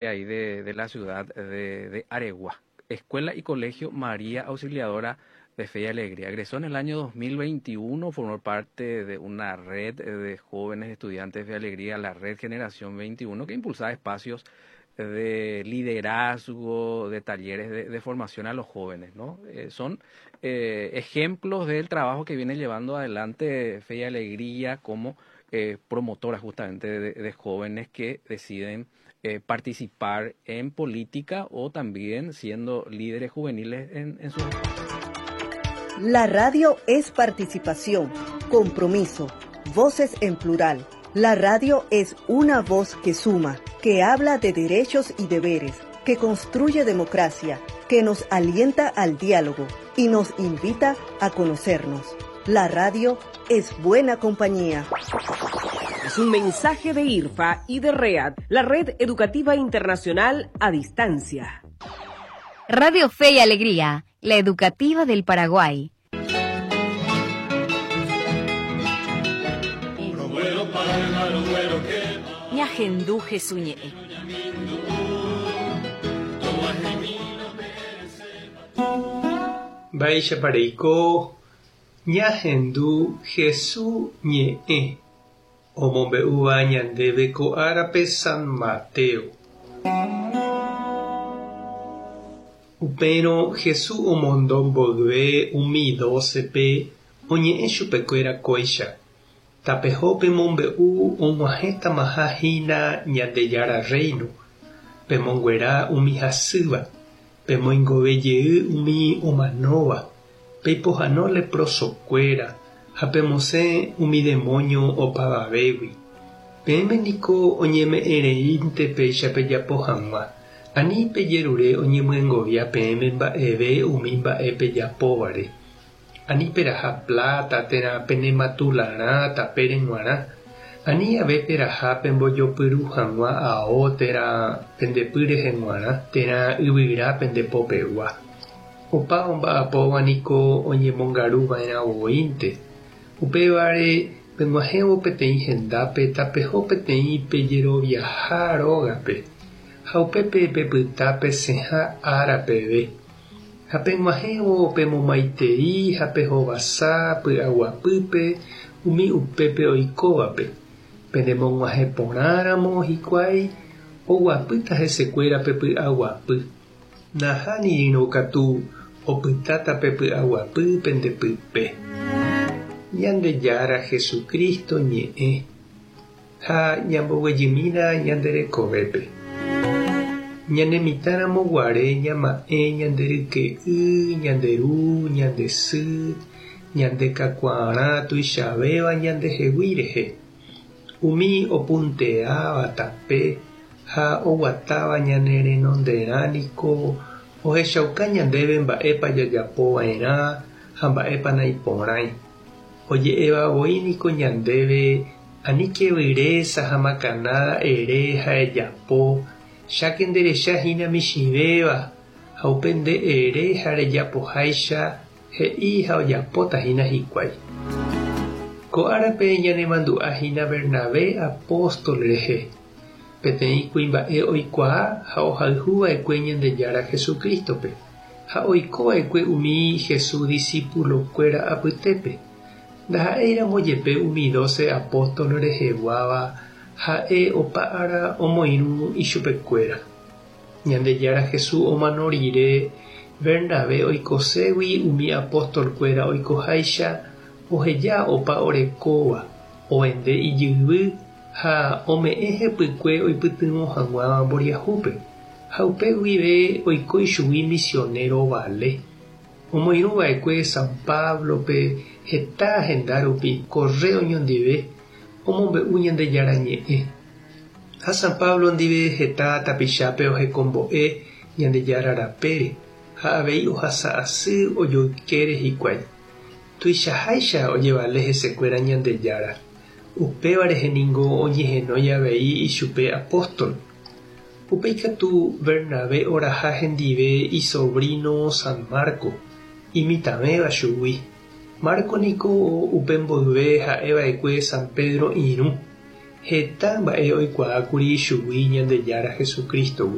Ahí de la ciudad de Aregua. Escuela y Colegio María Auxiliadora de Fe y Alegría. Egresó en el año 2021, formó parte de una red de jóvenes estudiantes de Fe y Alegría, la Red Generación 21, que impulsaba espacios de liderazgo, de talleres de formación a los jóvenes, ¿no? Son ejemplos del trabajo que viene llevando adelante Fe y Alegría como promotora justamente de jóvenes que deciden participar en política o también siendo líderes juveniles en su... La radio es participación, compromiso, voces en plural. La radio es una voz que suma, que habla de derechos y deberes, que construye democracia, que nos alienta al diálogo y nos invita a conocernos. La radio es buena compañía. Es un mensaje de IRFA y de READ, la Red Educativa Internacional a Distancia. Radio Fe y Alegría, la educativa del Paraguay. Ñahendu Jesús ñe'ẽ. Mba'éichapa reiko ñahendu Jesús ñe'ẽ omombe'úva ñandéve ko árape San Mateo. Upérõ Jesús omondo mboyve umi dócepe oñe'ẽ chupekuéra kóicha, Tapeho pemombe'u og̃uahẽtamaha hína Ñandejára Rréino, pemonguera umi hasýva, pemoingove jey umi omanóva, peipohano leprosokuéra ha pemosẽ umi demóño opavavégui. Peẽme niko oñeme'ẽreínte péicha pejapo hag̃ua, ani pejerure oñemyengovia peẽme mba'eve umi mba'e pejapóvare. Ani peraha pláta térã penematularã tapére g̃uarã, ani ave peraha pembojopyru hag̃ua ao térã pende py rehe g̃uarã térã yvyra pende popegua. Opa omba'apóva niko oñemongaru va'erã voínte. Upévare, peg̃uahẽvo peteĩ hendápe tapeho peteĩ pejeroviaha rógape, ha upépe pepyta pesẽha ára peve. Ha peg̃uahẽvo pemomaitei ha pehovasa py'aguapýpe umi upépe oikóvape. Penemog̃uahẽ porãramo hikuái, oguapýta hesekuéra pe py'aguapy. Nahánirĩrõ katu opytáta pe py'aguapy pende pype. Ñandejára Jesucristo ñe'ẽ ha ñamboguejymína ñande rekovépe. Ñane mitãramo guare ñama'ẽ ñande ryke'y, ñande ru, ñande sy, ñande kakuaarã tuichavéva ñandehegui rehe. Umi opunteáva tape ha oguatáva ñane renonderã niko ohechauka ñandéve mba'épa jajapo va'erã ha mba'épa naiporãi. Oje'éva voi niko ñandéve aníke vyrésa ha makanada ere ha ejapo, cháke nderecha hína michĩvéva ha upe nde ere ha rejapoháicha He'i ha ojapóta hína hikuái. Ko árape ñanemandu'a hína Bernabé apóstol rehe, peteĩ kuimba'e oikuaa ha ohayhu va'ekue Ñandejára Jesucrístope, ha oiko va'ekue umi Jesús disípulokuéra apytépe. Ndaha'éiramo jepe umi dóse apóstol reheguáva, ha'e opa ára omoirũ ichupekuéra. Ñandejára Jesús omano rire, Bernabé oikoségui umi apóstol-kuéra oikoháicha, oheja opa orekóva, ovende ijyvy ha ome'ẽ hepykue oipytyvõ hag̃ua mboriahúpe, ha upe guive oiko ichugui misionéro vale. Omoirũ va'ekue San Pablo-pe heta henda rupi korre oñondive omombe'u Ñandejára Ñe'ẽ. Ha San Pablo ndive heta tapichápe ohekombo'e Ñandejára rapére ha avei ohasa asy ojoykére hikuái. Tuichaháicha ojevale hesekuéra Ñandejára. Upéva rehe ningo oñehenói avei ichupe apóstol. Upéi katu Bernabé oraha hendive isovríno San Marco, imitãvéva chugui. Marco niko upe mboyve ha'e va'ekue San Pedro irũ. Heta mba'e oikuaákuri ichugui Ñandejára Jesucristo-gui.